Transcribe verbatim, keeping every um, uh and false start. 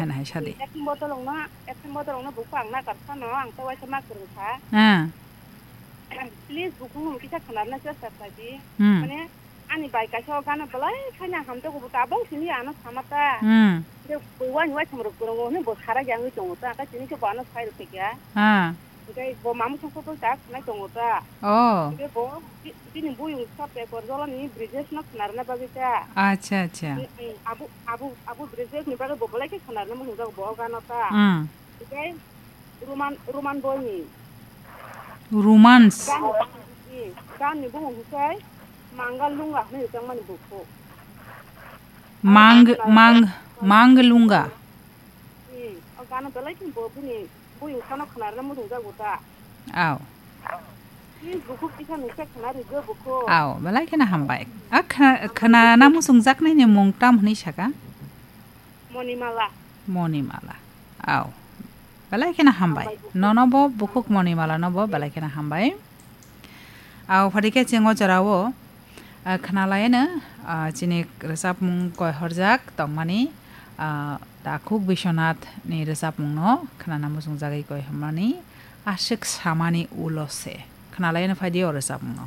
Nai hai sadi. Ekhon bodol wngno, ekhon bodol wngno buku ang nakarsa no, ang tei waisa ma kwrwngkha. Ah. Please buku no kisa khwnarna chesta khlai di. Hmm. Mane, ani bai kaisa o gana belai khaina hamjago bo tabang simi ano samata. Hmm. Je bo wani waisa mrok kwrwngo hwnwi bo sara jangwi tongo ta, ka tini khe bo ano sai rwkhe kya. Ah. Tei bo mamung song song ta khwnai tongo ta. Oh. Tei bo bi-, bini buyung sa pekor jolani Bridges no khwnarna bagwi ta. Acha, acha. Mm, mm, abu, abu, abu Bridges ni bagwi bo belai khe khwnarna muchung jago bo o gano ta. Mm. Tei Roman, Roman boy ni. Romans. Gan, mm, gan ni bumung hwnkhe Mangal Lunga hwnwi rijak mani bukhuk. Mang, mang, Mang Lunga. Hmm, o gana belai khe bo bini buyung sano khwnarna muchung jago ta. Aw. Please bukhuk kisa nungsa khwna rwgwi bukhuk. Aw, belai kheno hambai. A khwna, khwnana muchung jaknaini mung tam hwnwi saka? Monimala. Monimala. Aw. Belai kheno hambai. Hambai bukhuk. Nono bo bukhuk Monimala no bo belai kheno hambai. Aw, phadi khe chwng o jorao, ah, khwnalaino, ah, chini rwchapmung koihorjak tongmani, ah, Takhuk Biswanath ni rwchapmung no khwnana muchungjagwi koihormani, Aswk Samani Ulo Se. Khwnalaino phaidi o rwchapmung no.